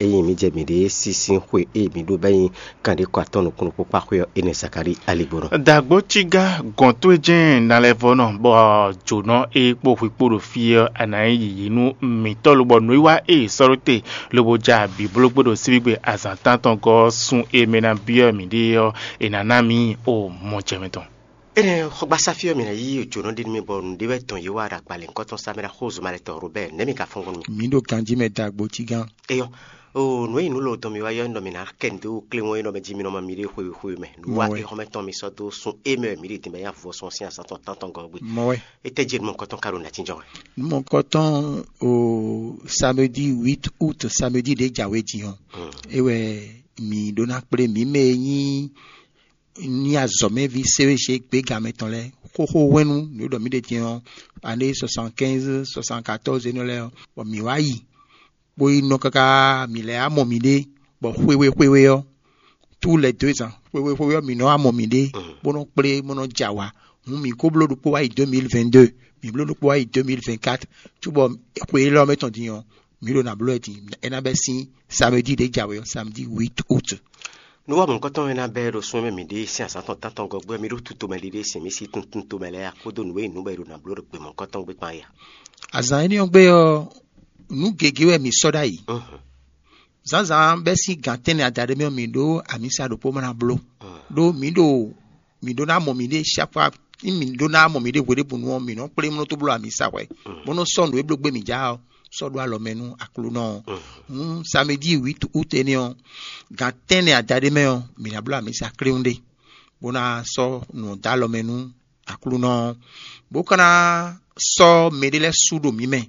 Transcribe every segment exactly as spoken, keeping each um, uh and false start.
Ényí mǐ jɛ mǐɖée sín sín xwe e mǐ ɖó bɔ é nyí kanɖékɔ atɔ́ɔ́n nukúnnú kpó kpá xwé ɔ́, énɛ́ Zakalíi aligbónɔ. Dǎgbó cígá gɔ̌n towe jɛ́n nalɛvɔ́nɔ bɔ jǒnɔ e kpo hwi kpó ɖo fí ɔ́, a nǎ nyí yǐyí nú mǐtɔn lobɔ nǔwiwa e è sɔ́ ɖó te lobo ja bǐblógbé ɖo síbígbe azǎn tántɔn gɔ́ ɔ́, sun e mɛ ná byɔ́ mǐɖée ɔ́, è nǎ ná mǐ o mɔ jɛ mɛ tɔn. Énɛ́ xɔgbasá fí ɔ́, mǐ ná yí jǒnɔ ɖé nú mì bɔ nǔɖé wɛ dɔn yě wa ɖo agbalěnkɔtɔn Samuɛ́li axózumɛtɔ́ Robɛ́ɛ nɛ̌ mi ka fɔ́n gbɔn nú mì? Mǐ ɖo ganjí mɛ dó agbo cí gán. Eyɔ, o nǔ e nyí nǔ lɔ dɔn mi wá yɔ nɔ mi ná kɛ nǔ dó kléwɔn e nɔ mɛ jí mi nɔ ma mi ɖe xwe xwe mɛ nǔ wa Mɔwɛ. Exɔmɛ tɔn mi sɔ́ dó sun émɛ mi ɖe din bɛ ya vɔ sɔn sín azǎn tɔn tántɔn gɔ́ gbe. Mɔwɛ. Étɛ́ jɛ nú mɔkɔtɔn ka ɖo nǎ jínjɔ́n wɛ? Mɔkɔtɔn o samedi huit août, samedi ɖě jǎwe din ɔ́, é wɛ mǐ ɖó ná kplé mǐ mɛ e nyí ní azɔ̌mɛví séwéṣe gběgamɛ tɔn lɛ́ɛ xóxó hwɛ́nú nǔ e ɖɔ mǐ ɖe din ɔ́, ané soixante-quinze, soixante-quatorze énɛ́ lɛ́ɛ ɔ́, bɔ mǐ wá yi bó yi nɔ káká mǐ lɛ́ wá mɔ mǐɖée, bɔ xwewé xwewé ɔ́, tous les deux ans, xwewé xwewé ɔ́, mǐ nɔ wá mɔ mǐɖée, bó nɔ kplé, bó nɔ jɛ awǎ. Hǔn mǐ ko bló ɖokpó wá yi deux mille vingt-deux, mǐ bló ɖokpó wá yi deux mille vingt-quatre, cóbɔ xwe élɔ́ mɛ tɔn din ɔ́, mǐ ɖo nǎ bló wɛ din, é ná bɛ́ sín samedi ɖě jǎwe ɔ́, samedi huit août. Nú wá mɔ̌hunkɔtɔn e ná bɛ́ ɖo sún e mɛ mǐ ɖe sín azǎn tɔn tántɔn gɔ́ gbé ɔ́, mǐ ɖo tutomɛ ɖiɖe sin mǐ sí tuntuntomɛ lɛ́ɛ ǎ, kpódó nǔ e nyí nǔ bɔ è ɖo nǎ bló ɖo gbe mɔ̌hunkɔtɔn gbé kpán é ǎ. Azǎn énɛ́ ɔ́ gbe ɔ́, nǔ gěgé wɛ mǐ sɔ́ ɖ'ayǐ. Zǎnzǎn bɛ́ sín gǎn tɛ́nnɛ adaɖé mɛ ɔ́, mǐ ɖó amǐsa ɖokpó ma ná bló. Ɖó mǐ ɖo mǐ ɖó ná mɔ mǐɖée chaque fois, ní mǐ ɖó ná mɔ mǐɖée hweɖěbǔnu ɔ́, mǐ nɔ́ kplé mlɔ́ tó bló amǐsa hwɛ̌, bó nɔ́ sɔ́ nǔ e bló gbé mǐ já ɔ́ sɔ́ ɖó alɔ mɛ nú Aklúnɔ ɔ́. Hǔn samedi huit août énɛ́ ɔ́, gan tɛ́nnɛ adaɖé mɛ ɔ́, mǐ ná bló amǐsa kléwún ɖé, bó ná sɔ́ nǔ ɔ́ dó alɔ mɛ nú Aklúnɔ ɔ́, bó ka ná sɔ́ mɛɖé lɛ́ɛ sú ɖo mǐ mɛ.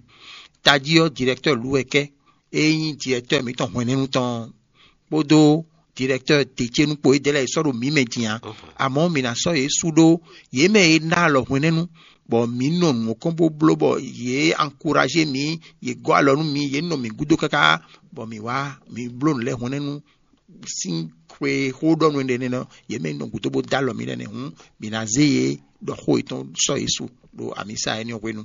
Tají ɔ́, directeur Luwɛkɛ, e nyí directeur mǐtɔn hwɛ̌nɛ́nu tɔn ɔ́, kpódó directeur Decenu kpo édɛ́ lɛ́ɛ e sɔ́ ɖo mǐ mɛ din ǎ. Amɔ̌, mǐ ná sɔ́ yě sú ɖó yě mɛ e ná alɔ hwɛ̌nɛ́nu, bɔ mǐ nɔ nǔ kɔn bó bló bɔ yě ankuraje mǐ, yě gɔ́ alɔ nú mǐ, yě nɔ mǐ gúdo káká, bɔ mǐ wá mǐ bló nǔ lɛ́ɛ hwɛ̌nɛ́nu sín xwe xó ɖɔ nú énɛ́ nɔ yě mɛ nɔ gúdo bó dó alɔ mǐ lɛ́ɛ nɛ́ hǔn, mǐ ná zé yě ɖɔ xó yětɔn sɔ́ yě su ɖo amǐsa énɛ́ ɔ́ hwenu.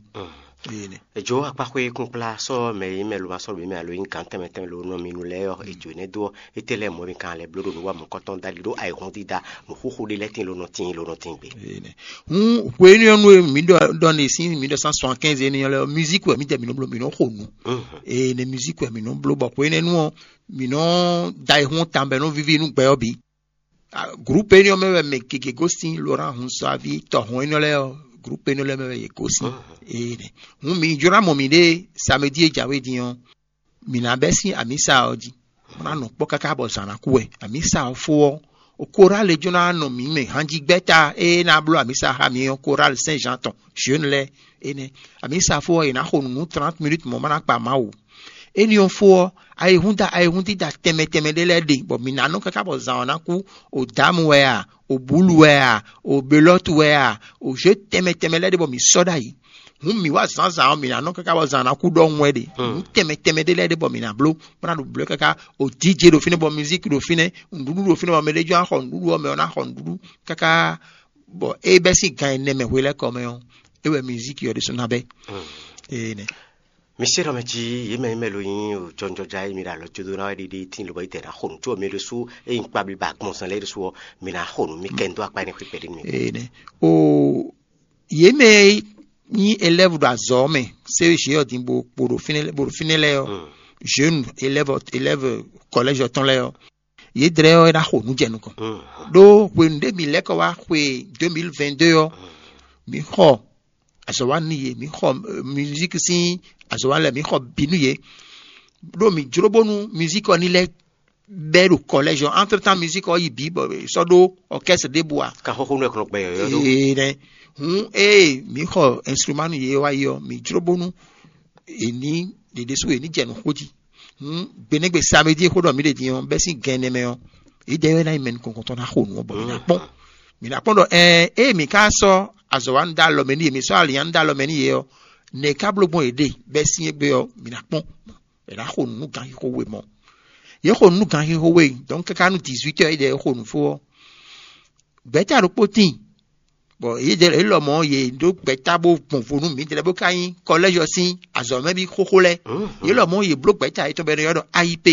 Eye nɛ. Èjǒ akpáxwé kúnkplá sɔ́ mɛ e nyí mɛ ló ma sɔ́ ɖo mǐ mɛ alo e nyí gǎn tɛnmɛ tɛnmɛ ló nɔ mi nu lɛ́ɛ ɔ́, èjǒ énɛ́ dó ɔ́, étɛ́ lɛ́ɛ mɔ̌ mi kan lɛ́ bló ɖo nǔ wa mɔ̌kɔtɔn dali ɖó ayǐhúndídá nǔxúxú ɖé lɛ́ɛ tíin ló nɔ tíin ló nɔ tíin gbe. Eye nɛ. Hǔn hwenu ɔ́ nú e mǐ ɖɔ ɖɔ ne sín mǐ ɖɔ cent soixante-quinze énɛ́ lɛ́ɛ ɔ́, musique wɛ mǐdɛɛ mǐ nɔ bló, mǐ nɔ xo nǔ. Eye nɛ musique wɛ mǐ nɔ bló bɔ hwenɛ́nu ɔ́, mǐ nɔ da ayǐhún tawun bɔ é nɔ víví nú gbɛ ɔ́ bǐ. Groupe énɛ́ ɔ́ mɛ wɛ mɛ gěgé gosín Laurent Hunsuavi tɔhɔn énɛ́ lɛ́ɛ ɔ́, groupe énɛ́ lɛ́ɛ mɛ wɛ yě gosín. Ee, hǔn mi jló ná mɔ mǐɖée samedi e jǎwe din ɔ́, mǐ ná bɛ́ sín amǐsa ɔ́ jí, bó ná nɔ kpɔ́ káká bɔ zǎn ná kú wɛ. Amǐsa ɔ́ fó ɔ́, koráli jló ná nɔ mǐ mɛ hanjígbɛ́ta e ná bló amǐsa xá mǐ ɔ́, koráli Saint Jean tɔn, jeune lɛ́ɛ énɛ́. Amǐsa fó ɔ́, è nǎ xo nǔ nú trente minutes mɔ̌ ma ná kpa Mawu. Éní ɔ́ fó ɔ́, ayihúnda ayihúndída tɛnmɛ tɛnmɛ ɖé lɛ́ɛ ɖe, bɔ mǐ ná nɔ káká bɔ zǎn ɔ́ ná kú. O dǎmu wɛ a, o bǔlu wɛ a, o belɔ́tu wɛ a, o zě tɛnmɛ tɛnmɛ lɛ́ɛ ɖe bɔ mǐ sɔ́ ɖ'ayǐ. Hǔn mǐ wá zǎnzǎn ɔ́, mǐ ná nɔ káká bɔ zǎn ná kú ɖɔhun wɛ ɖe. Nǔ tɛnmɛ tɛnmɛ ɖé lɛ́ɛ ɖe bɔ mǐ ná bló, bó ná ɖo blǒ káká. O DJ ɖo fínɛ́ bɔ mizíki ɖo fínɛ́, nǔɖuɖu ɖo fínɛ́ bɔ mɛ ɖé jɔ́n ná xɔ nǔɖuɖu ɔ́, mɛ ɔ́ ná xɔ nǔɖuɖu káká. Bɔ é bɛ́ sín gan ɛnɛ mɛ hwe lɛ́ɛ kɔ mɛ ɔ́, é wɛ mizíki ɔ́ ɖésú ná bɛ́. Ee nɛ. Mi se ɖɔ mɛ jí yě mɛ yě mɛ lo nyí jɔnjɔja e mi ɖo alɔ jó dó ná wɛ ɖiɖi tín lobɔ yi tɛ ná xo nǔ có mi ɖésú e nyí kpablíba agbɔnsɛn lɛ́ɛ ɖésú ɔ́, mi ná xo nǔ mi kɛ ń dó akpa énɛ́ xwé kpɛɖé nú mi. Ee nɛ. O yě mɛ e nyí élève ɖo azɔ̌ ɔ́ mɛ, C E G ɔ́ din bo bo ɖo fínɛ́ bo ɖo fínɛ́ lɛ́ɛ ɔ́, jeune élève élève collège ɔ́ tɔn lɛ́ɛ ɔ́, yě dlɛ́ ɔ́ é ná xo nǔ jɛ nukɔn. Ɖó hwenu ɖé mi lɛ́ kɔ wá xwe deux mille vingt-deux ɔ́, mi xɔ azɔ̌wanú yě, mi xɔ musique sín azɔ̌wanú lɛ́ɛ, mi xɔ bǐ nú yě. Ɖó mi jló bónú musique ɔ́ ní lɛ́ bɛ́ ɖo collège ɔ́, entre temps musique ɔ́ yi bǐ bɔ è sɔ́ ɖó orchestre ɖěbǔ ǎ. Ka xóxó nú ɛ kplɔ́n gbɛ yɔ̌yɔ́ ɖó. Ee nɛ. Hǔn ée mǐ xɔ instrument nú yě wá yi ɔ́, mǐ jló bónú è ní ɖě ɖésú è ní jɛ nǔ xó jí. Hǔn gbenɛ́gbe samedi e xó ɖɔ mǐ ɖe din ɔ́, bɛ́ sín gan ɛnɛ mɛ ɔ́, yědɛɛ wɛ ná nyí mɛ nukɔn tɔn ná xo nǔ ɔ́, bɔ mǐ ná kpɔ́n. Mǐ ná kpɔ́n ɖɔ ɛɛ ée mǐ ka sɔ́ azɔ̌wanú dó alɔ mɛ nú yě, mǐ sɔ́ alǐnnyánú dó alɔ mɛ nú yě ɔ́, nɛ̌ ká bló gbɔn yě ɖe bɛ́ sín égbé ɔ́, mǐ ná kpɔ́n. È nǎ xo nǔ nú ganxixo we mɔ̌. Yě xo nǔ nú ganxixo we, donc káká nú dix-huit heures yědɛɛ xo nǔ fó ɔ́, gbɛ̌ta ɖokpó tíin Bɔ yě lɔmɔ̌ yě ɖó gbɛ̌ta bó gbɔn vo nú mǐdɛɛ bó ka nyí kɔlɛ́zɔ sín azɔ̌mɛví xóxó lɛ́ɛ. Yě lɔmɔ̌ yě bló gbɛ̌ta yětɔn bɔ è nɔ ylɔ́ ɖɔ IEP.